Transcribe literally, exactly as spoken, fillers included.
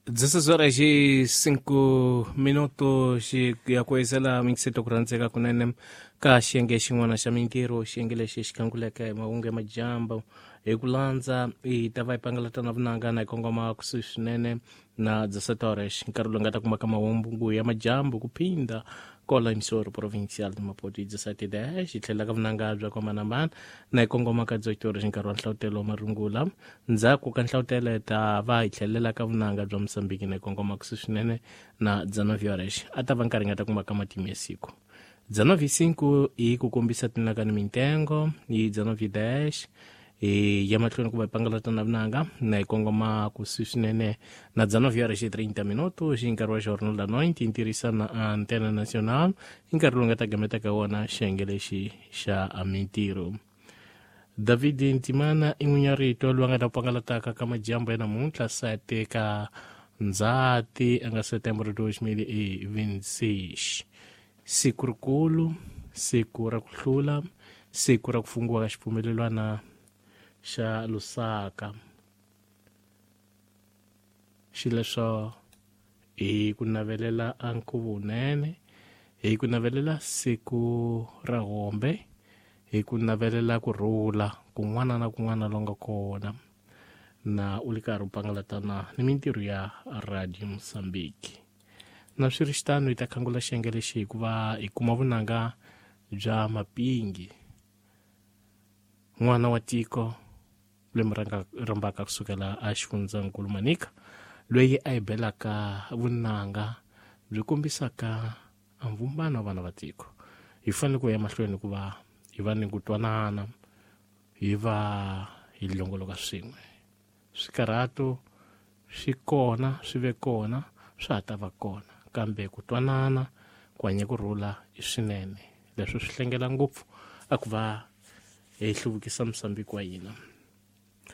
dezesseis horas e cinco minutos ya ku yisela minkiseto ku rhandzeka kunene ka xiyenge xin'wana xa mintirho xiyenge lexi xi khanguleke hi mahungu ya majambu hi ku landza hi ta va hi pangalatana vunanga na hi kongoma kusuhi swinene na dezessete horas nkarhi lowu nga ta kuma ka mahungu ya majambu ku phinda kola emissora provincial de Maputo dezessete dez hi tlhela ka vunanga bya kwambanambana na hi kongoma ka dezoito horas nkarhi wa nhlawutelo wa marungula ndzhaku ka nhlawutelo hi ta va hi tlhelela ka vunanga bya Mozambique na hi kongoma kusuhi swinene na dezenove horas a ta va nkarhi nga ta kuma ka matimu ya siku dezenove cinco hi ku kombisa tinaka ni mintengo hi dezenove dez hi ya mahlweni ku va hi pangalatana vunanga na hi kongoma kusuhi swinene na dezenove horas e trinta minutos hi nkarhi wa Jornal da Noite hi ntirhisana Antena Nacional hi nkarhi lowu nga ta gameta ka wona xiyenge lexi xa mintirho David Ntimana i n'winyi wa rito loyi a nga ta pangalataka ka majambu ya namuntlha sete ka Ndzhati a nga Setembro dois mil e vinte e seis siku rikulu siku ra ku hlula siku ra ku fungiwa ka xipfumelelwana xa Lusaka xileswo hi ku navelela a nkhuvo wunene hi ku navelela siku ra hombe hi ku navelela ku rhula kun'wana na kun'wana lo nga kona na u li karhi u pangalatana ni mintirho ya Radio Mozambique na swi ri xitano hi ta khangula xiyenge lexi hikuva hi kuma vunanga bya Mapingi n'wana wa tiko loyi rhambaka kusukela a xifundzankulu Manika loyi a hi belaka vunanga byi kombisaka mvumbano wa vana va tiko hi fanele ku ya mahlweni hikuva hi va ni ku twanana hi va hi longoloka swin'we swikarhato swi kona swi ve kona swa ha ta va kona kambe ku twanana ku hanya ku rhula i swinene leswi swi hlengela ngopfu a ku va hi hluvukisa Mozambique wa hina.